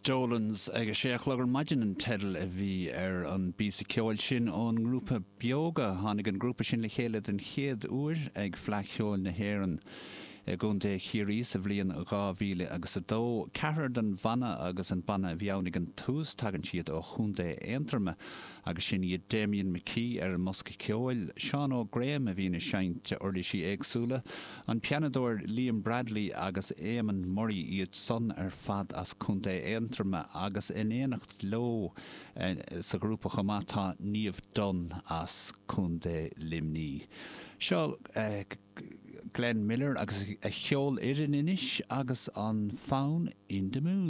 Dolans ag a sé a chlog ar maidin an teideal a bhí ar an bpíosa ceoil sin ón ngrúpa Beoga. Tháinig an grúpa sin le chéile den chéad uair ag Fleadh Cheoil na hÉireann i gContae Chiarraí sa bhliain 2000 agus 2. Ceathrar den bhanna agus an banna a bhí ann ag an tús, tagann siad ó Chontae Aontroma agus sin iad Damian McKee ar an mbosca ceoil, Seán Óg Graham a bhíonn ag seinnt uirlisí éagsúla, An pianadóir Liam Bradley agus Éamonn Murray, iad san ar fad as Contae Aontroma agus in éineacht leo sa ghrúpa chomh maith tá Niamh Dunne as Contae Luimní. Seo Glenn Miller agus a cheolfhoireann anois agus an fonn In the Mood.